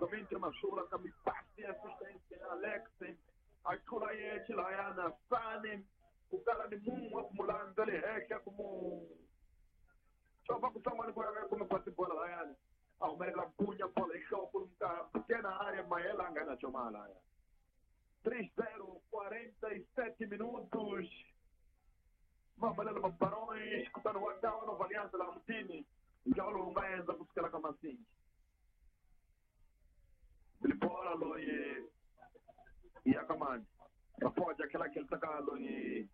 Novamente Mashula kami pasi assistência Alex achula ye chilayana Sani kukala ni mungu akumulanza leheka kumu chova kusamani kwa kuma pasi bola layani ahumelela kunya bola ikhopulumka pequena área maela ngana chomala 3-0, 47 minutos. Vamos lá, Barões, escutando o Adão, Nova Aliança lá no time. Já o Lungaenza busca lá assim. Ele bola lo e a comando. Pode aquela que ele tá lo e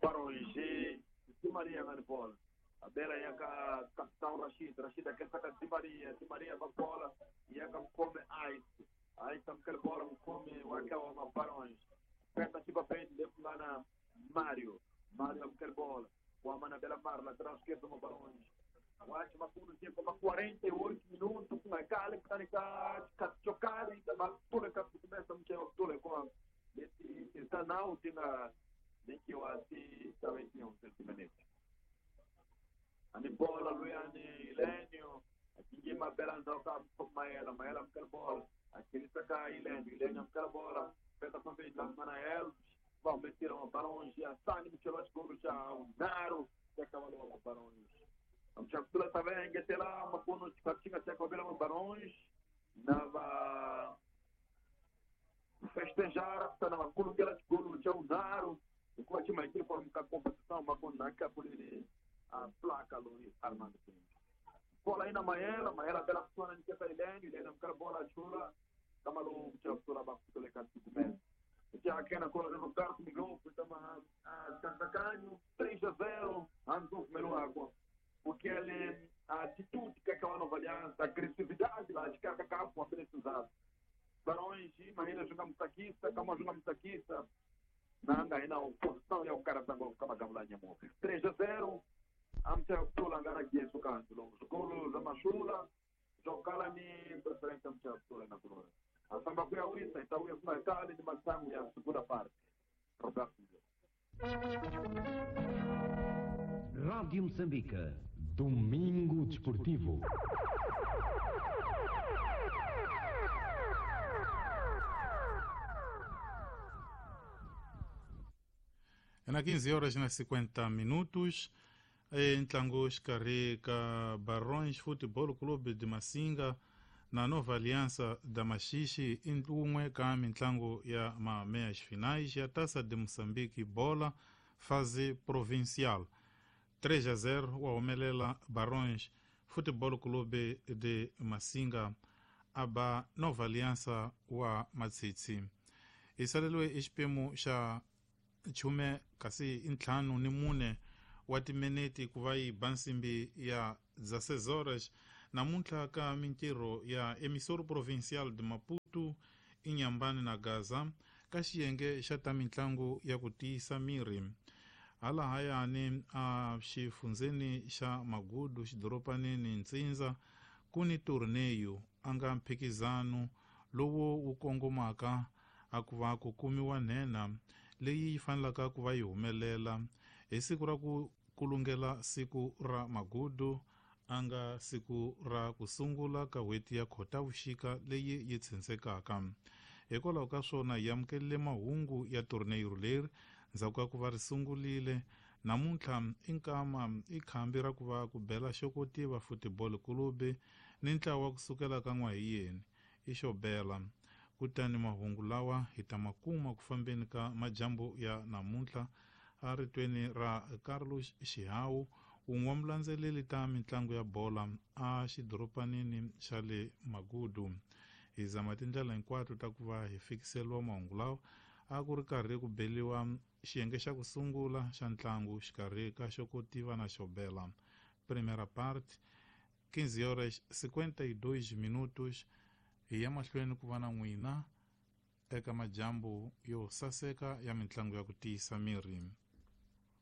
Barões e Di Maria na bola. A bela ia a capitão Rashid, Rashid aquele tá Di Maria, Di Maria va bola e a come Ice. Aí estamos aquela bola come o aquela Barões. Aperta aqui para frente, dentro lá na Mário. Mário aquela bola. O Amana Bela Mar, lateral esquerdo do Barões. O Acho Macuno tinha como 48 minutos com a Cali, que está chocado e toda a começa a mexer toda com esse canal tem na nem que eu assim também tinha um sentimento. A bola Luiane Ilênio, aqui uma bela andou com Maela, Maela aquela bola, aquele saca Ilênio, Ilênio aquela bola, peta com vez lá Manael, vão meter uma Barões, a Sani Michelotti gol já o Naro, que acabou o Barões. Amchakula também que lá makuno chikatinga chakobela Barões nava festejar tá na makuno que ela gol já o Naro, o coach mais que forma a competição makuno na capulini a placa Luiz Armando Pinto. Bola aí na Maela, Maela bela sona de que Ilene, Ilene não quer bola chula, kamalu chakula bakutole katukume. Já aqui na cola do Roberto Miguel, estamos a Tanzacanho 3-0, Anzu primeiro água. Porque ele, a atitude que aquela Nova Aliança, a agressividade lá de cada campo, a precisada. Barões, imagina jogar mutaquista, calma jogar mutaquista. Nanda aí não, posição é o cara da 3-0, amcha tola ngara gesu kanto, golo za mashula, jokala ni preferência amcha tola na coluna. A samba kuya wisa, então eu fui na de masango ya segunda parte. Roberto Miguel. Rádio Moçambique. Domingo Desportivo. É na 15 horas e 50 minutos, em Tlangos, Carreca, Barões Futebol Clube de Massinga, na Nova Aliança da Maxixe, em umwe ka mintlango ya ma meias finais ya Taça de Moçambique bola fase provincial. 3-0 wa humelela Barões Futebol Clube de Massinga aba Nova Aliança wa Matsitsi. Isalelwe xiphemu xa chume kasi ntlhanu ni mune wa timinete ku va yi ba nsimbi ya 16 horas namuntlha ka mintirho ya emissor provincial de Maputo Inhambane na Gaza ka xiyenge xa ta mintlangu ya ku tiyisa miri. Halahayani a xifundzeni xa Magudu xidoropanini Ntsindza ku ni torneyo a nga mphikizano lowu wu kongomaka a ku va ku kumiwa nhenha leyi yi fanelaka ku va yi humelela hi siku ra ku kulungela siku ra Magudu a nga siku ra ku sungula ka n'hweti ya Khotavuxika leyi yi tshentsekaka. Hikwalaho ka swona hi amukelile mahungu ya torneyo leri ndzhaku ka ku va ri sungurile namuntlha i nkama i khambi ra ku va ku bela xokotiva Futebol Clube ni ntlawa wa kusukela ka n'wahiyeni i xo bela. Kutani mahungu lawa hi ta makuma ku fambeni ka majambu ya namuntlha a ritweni ra Carlos Xihawu, wun'we wa mulandzeleri ta mitlangu ya bola a xidoropanini xa le Magudu. Hi zama tindlela hinkwato ta ku va hi fikiseliwa mahungu lawa a ku ri karhi ku beliwa xiyenge xa ku sungula xa ntlangu xikarhi ka xokotiva na xobela. Primeira parte, 15 horas 52 minutos. Hi ya mahlweni ku va na n'wina eka majambu yo saseka ya mitlangu ya ku tiyisa miri.